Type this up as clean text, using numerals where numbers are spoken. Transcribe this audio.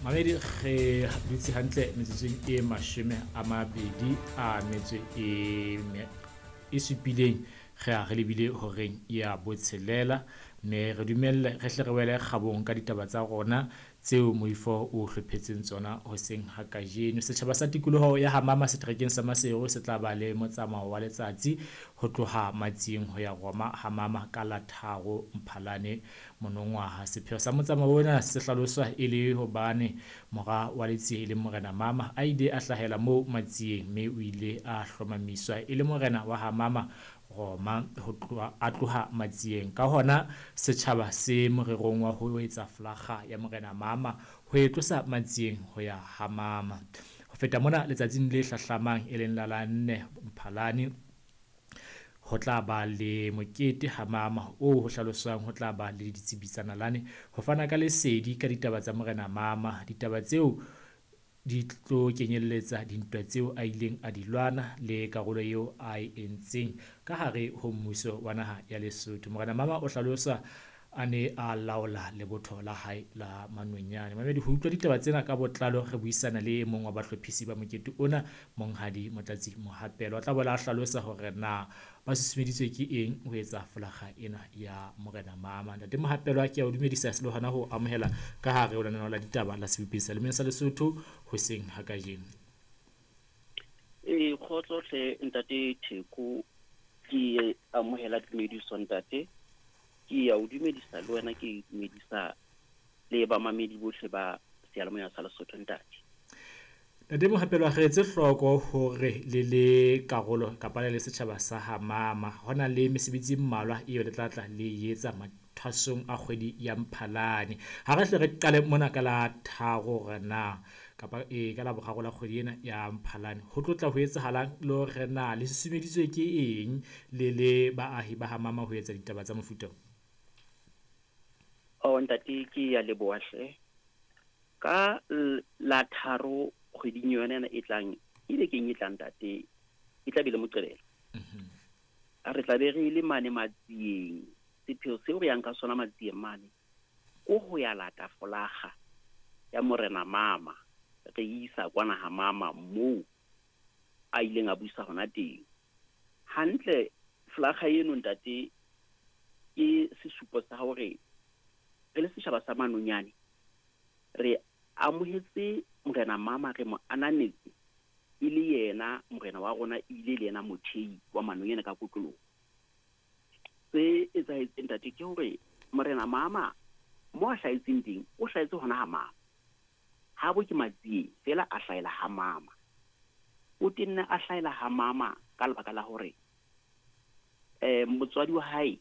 Mamedi, re dutse hantle metsotsong e 20 a metso e supileng, re a re lebile horeng ya 6, mme re dumelle re hle re wele kgabong ka ditaba tsa rona tseo moifo o hlophetseng tsona hoseng ha kajeno. Setjhaba sa tikoloho ya Hamama seterekeng sa Maseru se tla ba le motsamao wa letsatsi ho tloha Matsieng ho ya Roma Hamama ka la 3 Mphalane monongwaha. Sepheo sa motsamao ona se hlaloswa e le hobane mora wa Letsie e leng Morena Mama a ile a hlahela moo Matsieng, mme o ile a hlomamiswa e le morena wa Hamama Roma ho tloha a tloha Matsieng. Ka hona setjhaba se morerong wa ho etsa flakga ya Morena Mama ho e tlosa Matsieng ho ya Hamama. Ho feta mona, letsatsing le hlahlamang e leng la la 4 Mphalane, ho tla ba le mokete Hamama oo ho hlaloswang ho tla ba le ditsebi tsa nalane ho fana ka lesedi ka ditaba tsa Morena Mama. Ditaba tseo di tlo kenyelletsa dintwa tseo a ileng a di lwana le karolo eo a e entseng ka hare ho mmuso wa naha ya Lesotho. Morena Mama o hlalosa a ne a laola lebotho la hae la Manonyane. Mamedi, ho utlwa ditaba tsena ka botlalo re buisana le e mong wa bahlophisi ba mokete ona, Monghadi Motlatsi Mohapelo. O tla boela a hlalosa hore na ba susumeditswe ke eng ho etsa folakga ena ya Morena Mama. Ntate Mohapelo, ke a o dumedisa le hona ho amohela ka hare ho lenaneo la ditaba la Sebopeng sa Lemeng sa Lesotho hoseng ha kajeno. Ee, kgotso hle ntate Theko, ke amohela tumediso ntate. Ke a o dumedisa le wena, ke dumedisa le bamamedi bohle ba seyalemoya sa Lesotho ntate. Ntate Mohapelo, re etse hloko hore le le karolo kapa le le setjhaba sa Hamama ho na le mesebetsi e mmalwa eo le tla tla le etsa mathwasong a kgwedi ya Mphalane. Ha re hle re qale mona ka la 3 hore na kapa ka la 3 la kgwedi ena ya Mphalane ho tlo tla ho etsahalang, le hore na le susumeditswe ke eng le le baahi ba Hamama ho etsa ditaba tsa mofuta o? Oh ntate, ke ya leboha hle. Ka la 3 kgweding yona ena e tlang, e bekeng e tlang ntate, e tla be le Moqebelo. Re tla be re le mane Matsieng. Sepheo seo re yang ka sona Matsieng mane ko ho ya lata folakga ya Morena Mama, re isa kwana ha Mama moo a ileng a busa hona teng. Hantle folakga eno ntate ke sesupo sa hore re le setjhaba sa Manonyane re amohetse Morena Mama, re mo ananetse e le yena morena wa rona, ebile le yena mothei wa Manonyane ka kotloloho. Se etsahetseng ntate ke hore Morena Mama mo a hlahetseng teng, o hlahetse hona ha Mama. Habo ke Matsieng fela a hlahela ha Mama. O tenne a hlahela ha Mama ka lebaka la hore motswadi wa hae